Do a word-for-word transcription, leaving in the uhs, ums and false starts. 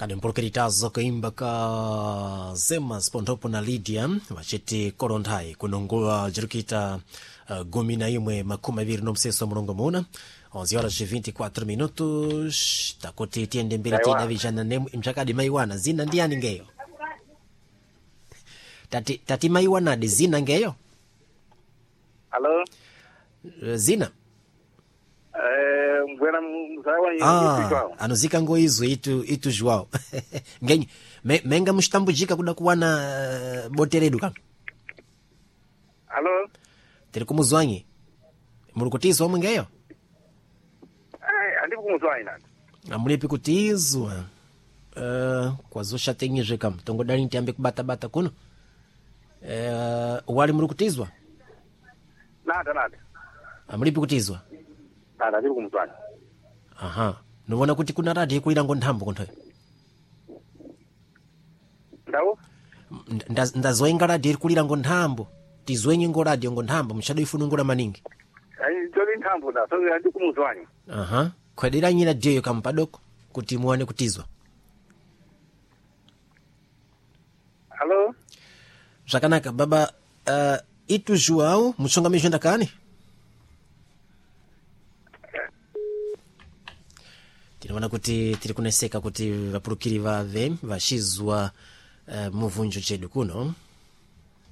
Chakademporkeritazo kaimba ka Zemas ponthopo na Lydia vachiti kolonthai kuno nguva jirikita uh, gumi na imwe makumi aviri nomseso mulongo muna onze horas e vinte e quatro minutos. Takuti tiyende mbiri. Maiwana. Tidavijana nemwe mchakadi maiwana zina ndiani ngeyo? Tati, tati maiwanadi zina ngeyo? Alo. Eh, zina Eh, mbwena mzawa. Ah, anozika ngo izwe itu itu João ngenyi me, menga muxitambujika kuda kuwana uh, bote redu kano. Alo. Tiri kumuzwanyi, muri kutizwa omwe ngeyo? Eh, andipo kumuzwa ina. Amulipi kutizwa? uh, kwazoxatenyizve kam tongodali ntiambe kubatabata kuno. uh, wali muri kutizwa? Nada nada. Amulipi kutizwa? Nada, andipo kumuzwa. Aha, nivona kuti kuna radio ikulira ngo nthambo konthoyo. Ndawo? Nda- ndazoenga radio irikulira ngo nthambo, tizwenye ngo radio ngo nthambo muchadoifunungula maningi. Ai, joli nthambo da, so andipo kumuzwa. Aha, khwederanyi radioyo kampadoko kuti muwane kutizwa. Alo. Zvakanaka baba. uh, itu João mutsonga ndakani tinoona kuti tiri kuneseka kuti vapurukiri vave vachizwa uh, muvunjo chedu kuno.